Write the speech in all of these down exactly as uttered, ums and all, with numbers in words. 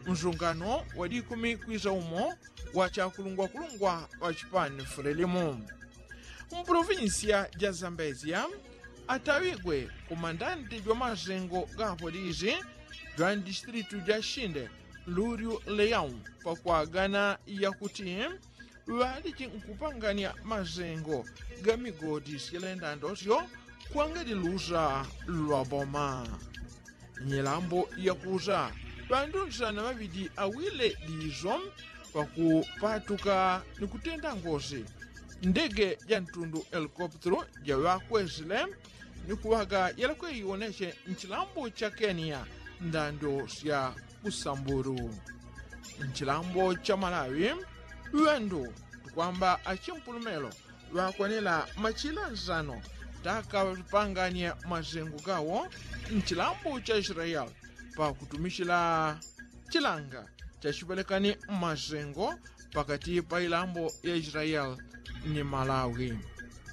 msungano wa dikumi kwisa umo wa chakulungwakulungwa wa chipani fulelimu. Mprovinsiya ja zambezia atawigwe kumandante jwa masengo ga apolisi jwa mdistritu ja shinde lulyu leyau pakwagana yakuti ŵaliji nkupangania masengo ga migodi syelendandosyo kwangadi lusa lwa boma. Nyilambo yakusa ŵandu nsana ŵaŵidi awile diso pakupatuka ni kutenda ngosi ndege ja ntundu helikoptero jaŵakwesile ni kuŵaga yelekwe iwoneche nchilambo cha kenya ndando sya kusamburu. Nchilambo cha malawi ŵandu tukwamba achimpulumelo ŵakwanela machila nsano taka ŵapanganie masengo gawo nchilambo cha israeli pakutumichila chilanga chachipelekani masengo pakati pa ilambo ya israeli ni malawi.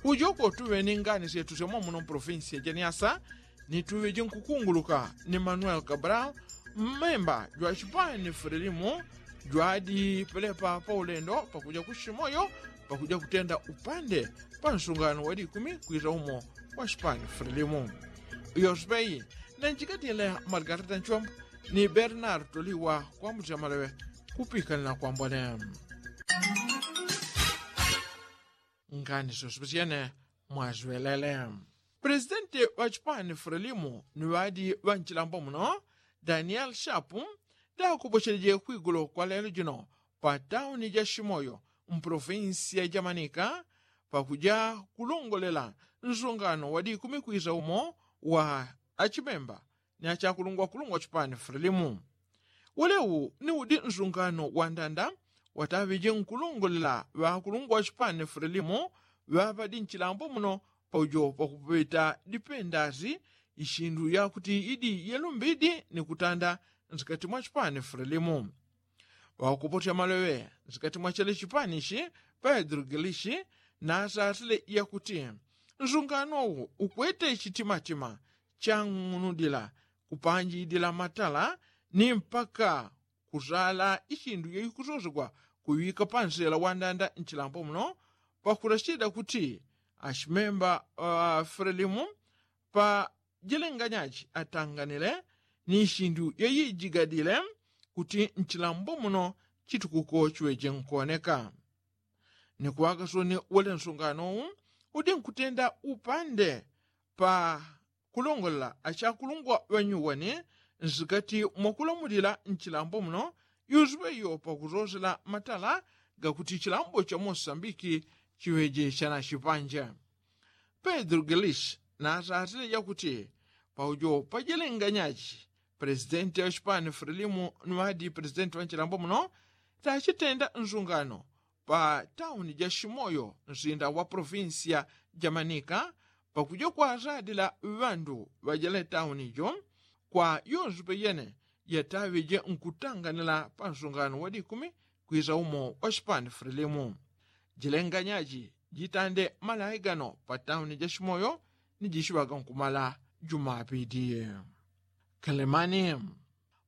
Ujoko tuŵe ni ngani syetu syomo muno mprovinsi ya janiasa ni tuŵe jinkukunguluka ni manuel cabral mmemba jwa chipani fulelimu jwadipelepa pa ulendo pakuja kushimoyo pakuja kutenda upande pa nsungano wa dikumi kwisa umo wa chipani fulelimu. Iyo sipeyi na njikatile margarita nchombo ni bernard toliwa kwambuti amaleŵe kupikanila kwambone. Ngani syosepesyene mwaswelele. Presidenti ŵa chipani fulelimu ni ŵadi ŵa nchilambo muno daniel shapu dakupocheleje kwigulo kwa lelo jino pa tauni ja shimoyo mprovinsiya ja manika pakuja kulongolela nsungano wa dikumi kwisa umo wa achimemba ni achakulungwakulungwa chipani fulelimu. Ulewu ni udi nsungano wa ndanda wataŵeje nkulongolela ŵakulungwa chipani fulelimu ŵaŵadi nchilambo muno paujo pakupeta dipendasi ishindu yakuti idi yelumbidi ni kutanda nsikati mwa chipani fulelimu. Ŵakupotya maleŵe nsikati mwa chele chipani ichi pedro gilishi nasasile yakuti nsungano ukwete chitimatima chang'unudila kupanjidila matala ni mpaka kusala ishindu yeikusosegwa kuŵika pansela wandanda nchilambo muno pakulachida kuti achimemba fulelimu pa jilenganyaji atanganile ni ishindu yeijigadile kuti nchilambo muno chitukuko chiŵeje nkuoneka. Ni kuŵaka soni wele nsungano udi nkutenda upande pa kulongolela achakulungwa ŵanyuwani nsikati mwakulamulila nchilambo muno yusuŵe iyo pakusosela matala gakuti chilambo cha mosambiki chiŵeje chanachipanja. Pedro gilishi nasasile yakuti paujo pajilenganyaji presidenti wa chipani fulelimu ni ŵadi presidenti wa nchilambo muno tachitenda nsungano pa tauni ja shimoyo nsinda wa provinsiya ja manika pakuja kwasadila ŵandu ŵajele tauni jo kwa yonse peyene yataŵeje nkutanganila pa nsungano wa dikumi kwisa umo wa chipani fulelimu. Jilenganyaji jitande malaigano pa tauni ja shimoyo ni jichiŵaga nkumala jumapiti. Kelemani.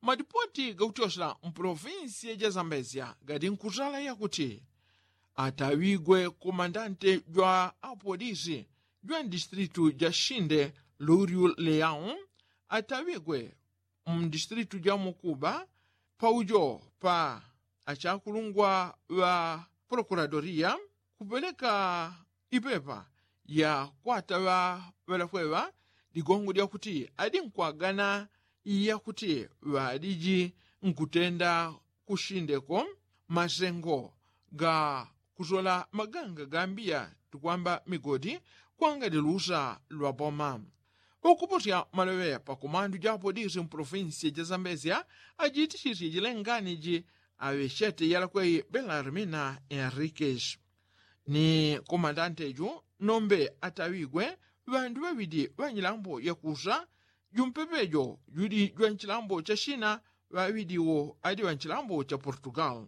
Madipoti gakutyosela mpolovinsiya ja zambezia gadi nkusala yakuti atawigwe komandante jwa apolisi jwa mdistritu ja shinde luryu leyau atawigwe mdistritu ja mukuba paujo pa achakulungwa ŵa prokuradoria kupeleka ipepa ya kwata ŵa ŵelafweŵa ligongo lyakuti adi nkwagana yakuti ŵadiji nkutenda kushindeko masengo ga kusola maganga gambiya tukwamba migodi kwangadi lusa lwa boma. Pakuposa maloŵe pa kumandu ja apolisi mpolofinsi ja zambezia ajitisisye jilengani ji aŵechete yalakweyi belarmina enriquez ni komandante ju nombe ataŵigwe ŵandu ŵaŵidi ŵa nyilambo yakusa jumpepe jo judi jwa nchilambo cha shina ŵaŵidi wo adi ŵa nchilambo cha portugal.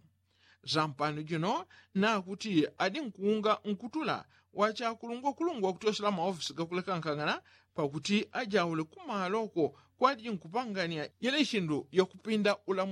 Sampano jino nakuti adi nkuunga nkutula wa chakulungwakulungwa kutyosela maofisi gakulekankangana pakuti ajaule kumaloko kwadi nkupangania yele shindu yakupinda ulamu.